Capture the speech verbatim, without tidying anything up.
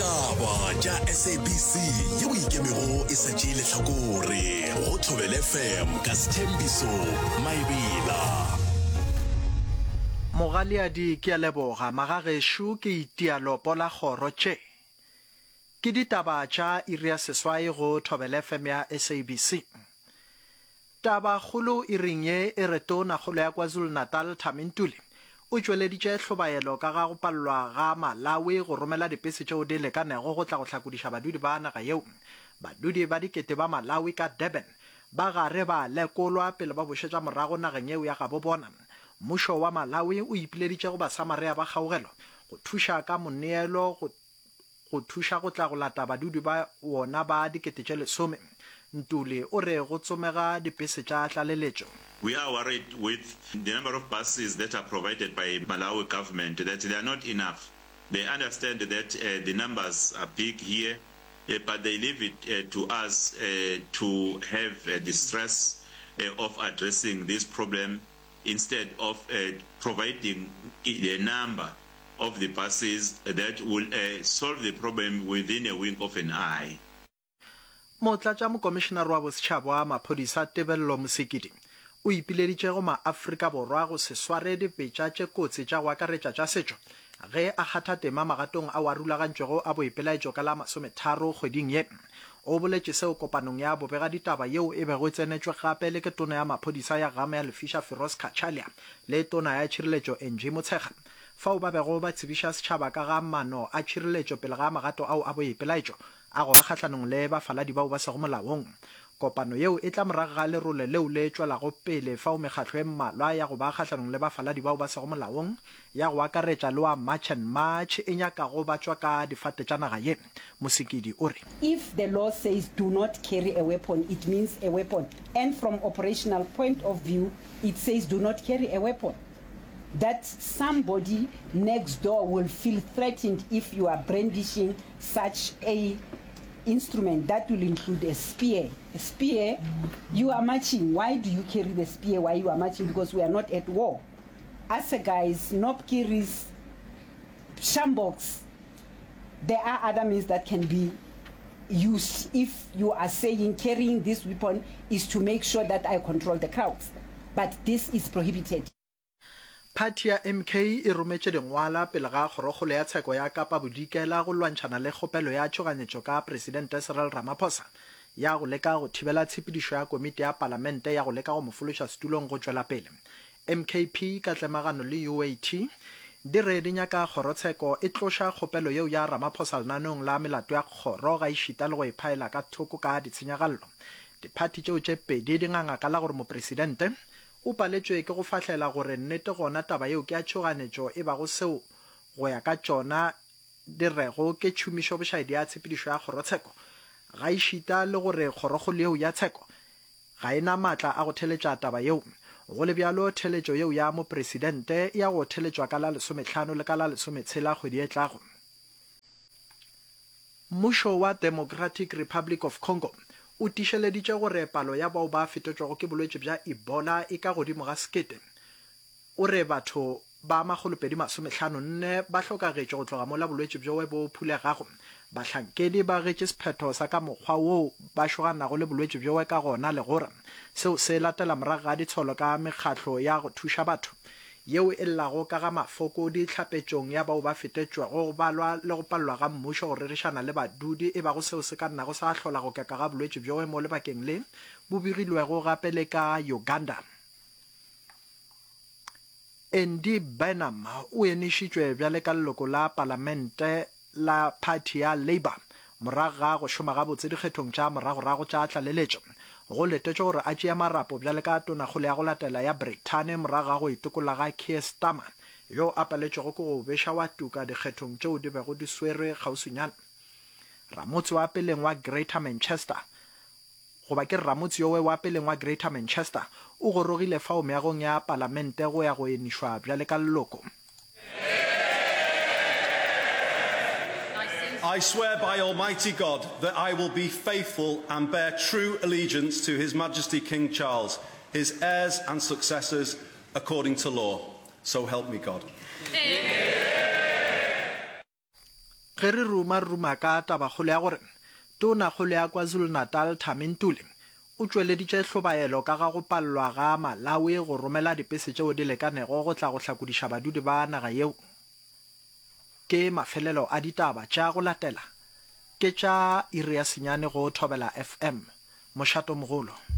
Ditaba tša S A B C yeo ikemego e sa tšee lehlakore go Thobela F M ka Sethembiso Maebela. Mogaleadi ke a leboga magagešo ke itia lopo la kgoro tše ke ditaba tša iri ya seswai go Thobela F M ya S A B C. Tabakgolo iring ye e re Tonakgolo ya KwaZulu-Natal Thami Ntuli o tšweleditše hlobaelo ka ga go palelwa ga Malawi go romela dipese tšeo di lekanego go tla go hlakodiša badudi ba naga yeo. Badudi ba dikete ba Malawi ka Durban ba gare ba lekolwa pele ba bošetša morago nageng yeo ya gabo bona. Mmušo wa Malawi o ipileditše go Basamaria ba kgaugelo go thuša ka moneelo go go thuša go tla go lata badudi ba wona ba dikete tše lesome. Ntuli o re go tsomega dipese tša tlaleletšo. We are worried with the number of buses that are provided by Malawi government, that they are not enough. They understand that uh, the numbers are big here, uh, but they leave it uh, to us uh, to have uh, the stress uh, of addressing this problem instead of uh, providing the number of the buses that will uh, solve the problem within a wink of an eye. Motlatšamokomišenare wa Bosetšhaba wa Maphodisa Tebello Mosekedi o ipileditše go maAfrika Borwa go se sware dibetša tše kotsi tša go akaretša tša setšo ge a kgatha tema magatong ao a rulagantšwego a boipelaetšo ka la masometharo kgweding ye. O boletše seo kopanong ya bobegaditaba yeo e bego e tsenetšwe gape le ke Tona ya Maphodisa ya Gama ya Lefiša Firoz Cachalia le Tona ya Tšhireletšo Angie Motshekga, fao ba bego ba tsebiša setšhaba ka ga maano a tšhireletšo pele ga magato ao a boipelaetšo a go ba kgahlanong le bafaladi bao ba sego molaong. Kopano yeo e tla morago ga lerole leo le tšwelago pele fao mekgatlo e mmalwa ya go ba kgahlanong le bafaladi bao ba sego molaong, ya go akaretša le wa March and March, e nyakago ba tšwa ka difate tša naga ye. Mosekedi o re If the law says do not carry a weapon, it means a weapon. And from operational point of view, it says do not carry a weapon. That somebody next door will feel threatened if you are brandishing such a instrument that will include a spear. A spear, you are marching. Why do you carry the spear while you are marching? Because we are not at war. Assegais, knobkerries, sjamboks, there are other means that can be used if you are saying carrying this weapon is to make sure that I control the crowds. But this is prohibited. Phathi ya M K e rometše dingwala pele ga Kgorokgolo ya Tsheko ya Kapa Bodikela go lwantšhana le kgopelo ya tšhoganyetšo ka Presidente Cyril Ramaphosa ya go leka go thibela tshepedišo ya komiti ya palamente ya go leka go mo fološa setulong go tšwela pele. M K P ka tlemagano le U A T di re di nyaka kgorotsheko e tloša kgopelo yeo ya Ramaphosa lenaneong la melato ya kgoro ga ešita le go e phaela ka thoko ka ditshenyagalelo. Diphathi tšeo tše pedi di nganga ka la gore mopresidente o paletšwe ke go fahlela gore nnete gona taba yeo ke ya tšhoganetšo, e bago seo go ya ka tšona di rego ke tšhomišo bošaedi ya tshepedišo ya kgorotsheko, ga ešita le gore kgorokgolo yeo ya tsheko ga e na maatla a go theletša taba yeo. Go le bjalo, theletšo yeo ya mopresidente ya go theletšwa ka la lesomehlano le ka la lesometshela kgwedi e tlago. Mmušo wa Democratic Republic of Congo o tiišeleditše gore palo ya bao ba fetetšwego ke bolwetši bja Ebola e ka godimo ga sekete. O re batho ba makgolopedi masomehlano nne ba hlokagetše go tloga mola bolwetši bjowe bo phulegago. Bahlankedi ba getše sephetho sa ka mokgwa woo ba šoganago le bolwetši bjowe ka gona, le gore seo se latela morago ga ditsholo ka mekgatlo ya go thuša batho yeo e llago ka ga mafokodi tlhapetšong ya bao ba fetetšwego, go balwa le go palelwa ga mmušo go rerišana le badudi, e bago seo se ka nnago sa hlola go keka ga bolwetši bjowe mo lebakeng le bo begilwego gape le ka Uganda. Andy Burnham o enišitšwe bjale ka leloko la palamente la phathi ya Labour morago ga go šoma gabotse dikgethong tša moragorago tša tlaleletšo. Go letetšwe gore a tšee marapo bjale ka tonakgolo ya go latela ya Brithani morago ga go itokolla ga Keir Starmer, yo a paletšwego ke go beša wa tuka dikgethong tšeo di bego di swerwe kgauswinyana. Ramotse wa peleng wa Greater Manchester, goba ke ramotse yowe wa peleng wa Greater Manchester, o gorogile fao meagong ya palamente go ya go enišwa bjale ka leloko. I swear by Almighty God that I will be faithful and bear true allegiance to His Majesty King Charles, his heirs and successors according to law. So help me God. Ge re ruma re ruma ka tabakgolo ya gore Tonakgolo ya KwaZulu-Natal Thami Ntuli o tšweleditše hlobaelo ka ga go palelwa ga Malawi go romela dipese tšeo di lekanego go tla go hlakodiša badudi ba naga yeo. Ke mafelelo a ditaba tša go latela ke tša iri ya senyane go Thobela F M, Mošatomogolo.